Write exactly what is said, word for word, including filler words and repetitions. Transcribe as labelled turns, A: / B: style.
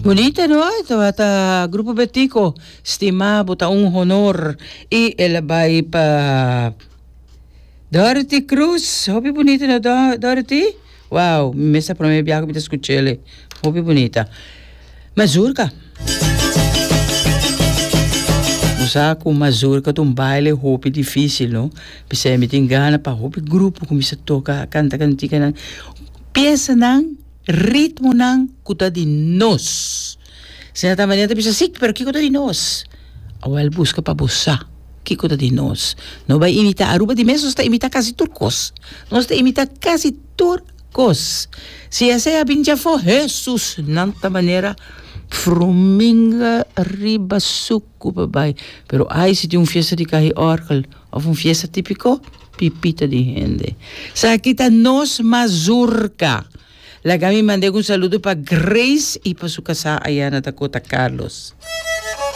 A: Bunita, no? Tabata Grupo Betico, "Stima Bo Ta un Honor". I el a bai pa Dorothy Cruz. Hopi bunita, no, Dorothy? Wow, mi ta promé biaha ku mi ta skuch'é. Hopi bunita. Mazurka. Usa ku mazurka ta un baile hopi difísil, no? P'esei mi tin gana pa hopi grupo kuminsá toka, kanta kantikanan. Piesanan, ritmonan ku ta di nos. Sina manera ta bisa, "Sí, pero kiko ta di nos?" Awel, buska pa bo sa kiko ta di nos. No bai imitá. Aruba di mes nos ta imitá kasi tur kos. Nos ta imitá kasi tur kos. Si esei a bin djafó, Jesus, nan ta manera fruminga riba suku pa bai. Pero ai, si tin un fiesta di ka'i orgel òf un fiesta típiko, pipita di hende. Esaki ta nos mazurka. Laga mi manda un saludo pa Grace i pa su kasá aya na Dakota, Carlos.